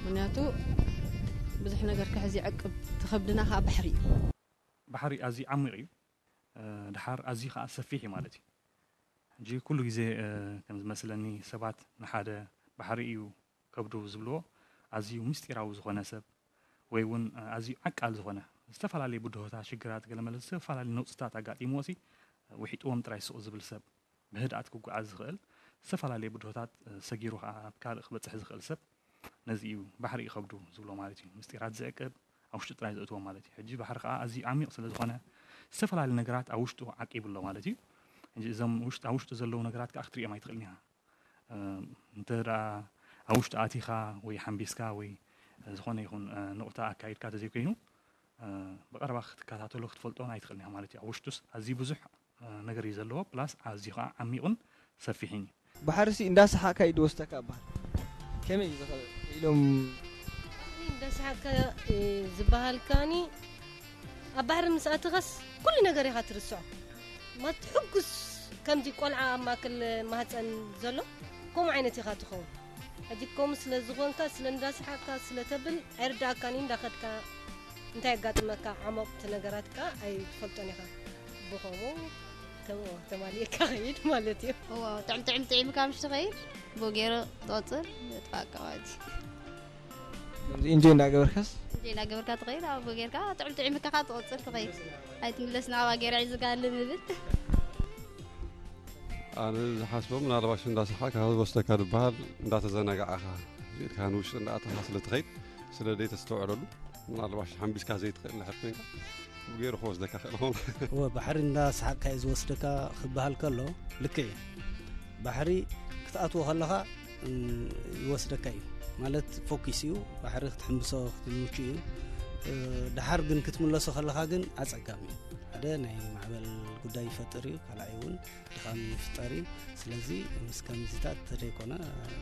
ምክንያቱ ብዙሕ ነገር ክሕዝ ይዕቅብ፣ ትኸብድና ከዓ ባሕሪ እዩ። ባሕሪ ኣዝዩ ዓሚቕ እዩ። እ፣ ድሓር ኣዝዩ ከዓ ሰፊሕ እዩ ማለት እዩ። ሕጂ ኩሉ ግዜ፣ እ፣ ከም ዝመስለኒ ሰባት ንሓደ ባሕሪ እዩ ከብዱ ዝብልዎ ኣዝዩ ምስጢራዊ ዝኾነ ሰብ ወይ እውን፣ እ፣ ኣዝዩ ዓቃል ዝኾነ ዝተፈላለየ ብድሆታት፣ ሽግራት፣ ገለመለ ዝተፈላለየ ነውፅታት ኣጋጢምዎ ሲ ውሒጥዎም ጥራይ ስቕ ዝብል ሰብ፣ ብህድኣት ክጓዓዝ ዝኽእል፣ ዝተፈላለየ ብድሆታት፣ እ፣ ሰጊሩ ከዓ ኣብ ካልእ ክበፅሕ ዝኽእል ሰብ ነዚ እዩ ባሕሪ እዩ ከብዱ ዝብሎ ማለት እዩ። ምስጢራት ዝዕቅብ ኣብ ውሽጡ ጥራይ ዘእትዎ ማለት እዩ። ሕጂ ባሕሪ ከዓ ኣዝዩ ዓሚቕ ስለ ዝኾነ ዝተፈላለዩ ነገራት ኣብ ውሽጡ ዓቂቡ ኣሎ ማለት እዩ። ሕጂ እዞም ውሽጥ-፣ ኣብ ውሽጡ ዘለዉ ነገራት ከዓ ክትሪኦም ኣይትኽእልን ኢኻ። እ፣ እንተ ደኣ ኣብ ውሽጡ ኣቲኻ ወይ ሓምቢስካ ወይ ዝኾነ ይኹን፣ እ፣ ንቑታ ኣካይድካ ተዘይኮይኑ፣ እ፣ ብቐረባ ክትከታተሎ ክትፈልጦን ኣይትኽእልን ኢኻ ማለት እዩ። ኣብ ውሽጡስ ኣዝዩ ብዙሕ፣ እ፣ ነገር እዩ ዘለዎ። ፕላስ ኣዝዩ ከዓ ዓሚቑን ሰፊሕን እዩ። ባሕርሲ እንዳሰሓቕካ እዩ ዝወስደካ ይበሃል። ከመይ እዩ ዝኸ-፣ ኢሎም? እንዳሰሓቕካ፣ እ፣ ዝበሃል ከኣኒ ኣብ ባሕሪ ምስ ኣተኻስ ኩሉ ነገር ኢኻ ትርስዖ። ማለት ሕጉስ ከምዚ ቆልዓ ኣብ ማእከል ማህፀን ዘሎ ከምኡ ዓይነት ኢኻ ትኸውን። ሕጂ ከምኡ ስለ ዝኾንካ፣ ስለ እንዳሰሓቕካ፣ ስለ ተብል ኣይርድኣካን እዩ። እንዳኸድካ እንታይ የጋጥመካ፣ ዓሞቕ እቲ ነገራት ከኣ ኣይትፈልጦን ኢኻ። ብኸምኡ ከምኡ ተማሊእካ ኸይድ ማለት እዩ። እዎ፣ ጥዕም ጥዕም ጥዒምካ ምሽ ትኸይድ፣ ብኡ ገይሩ ትቕፅል፣ የጥፋእካ ማለት እዩ። ከምዚ ኢንጆይ እንዳገበርካስ? እንጂ እናገበርካ ትኸይድ፣ ኣብኡ ጌርካ ጥዕም ጥዒምካ ኸዓ ትቕፅል ትኸይድ። ኣይትምለስ ናብኣ ገይረ ሒዝካ ኣለ ዝብል። ኣነ ዝሓስቦ ምናልባሽ እንዳሰሓቕካ ዝወስደካ ዝበሃል እንዳተዘናጋዕኻ ኢልካ ንውሽጢ እንዳኣተኻ ስለ ትኸይድ ስለ ዘይተስተውዕለሉ ምናልባሽ ሓምቢስካ ዘይትኽእል እንድሕር ኮይንካ ብገይሩ ክወስደካ ክእል ኾን እወ ባሕሪ እንዳሰሓቕካ እዩ ዝወስደካ ክበሃል ከሎ ልክዕ እዩ። ባሕሪ ክትኣትዎ ከለኻ እም፣ ይወስደካ እዩ ማለት ፎኪስ እዩ። ባሕሪ ክትሕምብሶ ክትምቹ እዩ። እ፣ ደሓር ግን ክትምለሶ ከለኻ ግን ኣጸጋሚ እዩ። ሓደ ናይ ማዕበል ጉዳይ ይፈጥር እዩ፣ ካልኣይ እውን ድኻም ይፍጠር እዩ። ስለዚ ምስ ከምዚታት ተደይኮነ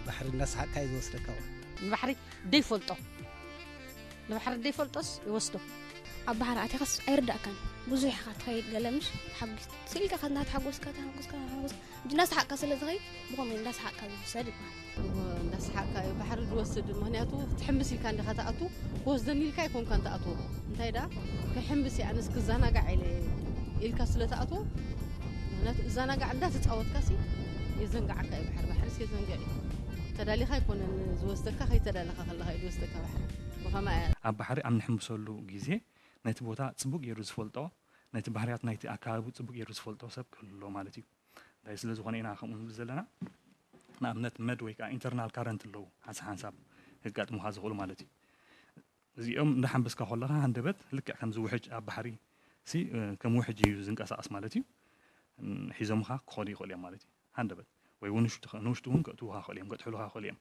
ባሕሪ እንዳሰሓቕካ እዩ ዝወስደካ። ንባሕሪ ደይፈልጦ ንባሕሪ ደይፈልጦስ ይወስዶ። ኣብ ባሕሪ ኣቲኻስ ኣይርዳእካን ብዙሕ ኢኻ ትኸይድ ገለ ምሽ ተሓጒስ ስኢልካ ከ እናተሓጎስካ ተሓጎስካ ተሓጎስካ ሕጂ እናሰሓቕካ ስለ ዝኸይድ ብኸምኡ እንዳሰሓቕካ ዝውሰድ ይበሃል። እወ እንዳሰሓቕካ እዩ ባሕሪ ዝወስድ ምኽንያቱ ክትሕምብስ ኢልካ እንዲኻ ትኣቱ ክወስደኒ ኢልካ ኣይኮንካን ትኣትዎ እንታይ ደኣ ክሕምብስ እየ ኣነስ ክዘናጋዕ ኢለ ኢልካ ስለ ትኣትዎ ምኽንያቱ እዘናጋዕ እንዳተፃወትካ ሲ የዘንግዓካ እዩ ባሕሪ ባሕሪስ የዘንግዕ እዩ ተዳሊኻ ኣይኮነን ዝወስደካ ከይተዳለኻ ከለኻ እዩ ዝወስደካ ባሕሪ ብኸማ እያ ኣብ ባሕሪ ኣብ ንሕምብሰሉ ግዜ ነቲ ቦታ ፅቡቕ ገይሩ ዝፈልጦ ነቲ ባህርያት ናይቲ ኣከባቢ ፅቡቕ ገይሩ ዝፈልጦ ሰብ ክህሉ ኣለዎ ማለት እዩ እንታይ ስለ ዝኾነ ኢና ከምኡ ንብል ዘለና ንኣብነት መድ ወይ ከዓ ኢንተርናል ካረንት ኣለዉ ሓንሳብ ሓንሳብ ከጋጥሙኻ ዝኽእሉ ማለት እዩ እዚኦም እንዳሓንበስካ ከለኻ ሃንደበት ልክዕ ከምዚ ውሕጅ ኣብ ባሕሪ ሲ ከም ውሕጅ እዩ ዝንቀሳቐስ ማለት እዩ ሒዞምኻ ክኸዱ ይኽእሉ እዮም ማለት እዩ ሃንደበት ወይ እውን ንውሽጢ እውን ከእትዉኻ ይኽእሉ እዮም ከጥሕሉኻ ይኽእሉ እዮም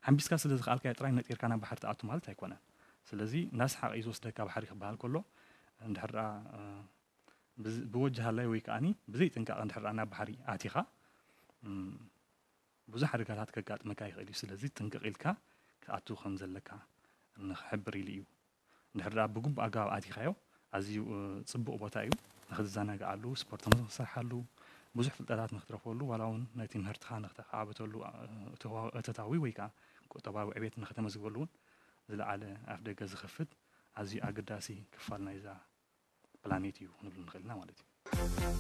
ሓንቢስካ ስለ ዝኸኣልካዮ ጥራይ ነጢርካ ናብ ባሕሪ ትኣቱ ማለት ኣይኮነን ስለዚ እንዳሰሓቐ እዩ ዝወስደካ ባሕሪ ክበሃል ከሎ እንድሕር ደኣ ብወጅሃላይ ወይ ከዓኒ ብዘይ ጥንቃቐ እንድሕር ደኣ ናብ ባሕሪ ኣቲኻ ብዙሕ ሓደጋታት ከጋጥመካ ይኽእል እዩ ስለዚ ጥንቅቕ ኢልካ ክትኣቱ ከም ዘለካ ንኽሕብር ኢሉ እዩ እንድሕር ደኣ ብግቡእ ኣገባብ ኣቲኻዮ ኣዝዩ ፅቡቕ ቦታ እዩ ንኽትዘናግዓሉ ስፖርት ንኽትሰርሓሉ ብዙሕ ፍልጠታት ንኽትረኽበሉ ዋላ እውን ነቲ ምህርትኻ ንኽተዓብተሉ እተታዊ ወይ ከዓ ቁጠባዊ ዕቤት ንኽተመዝግበሉ እውን ዝለዓለ ኣፍ ደገ ዝኸፍት ኣዝዩ ኣገዳሲ ክፋል ናይዛ ፕላኔት እዩ ክንብል ንኽእል ኢና ማለት እዩ።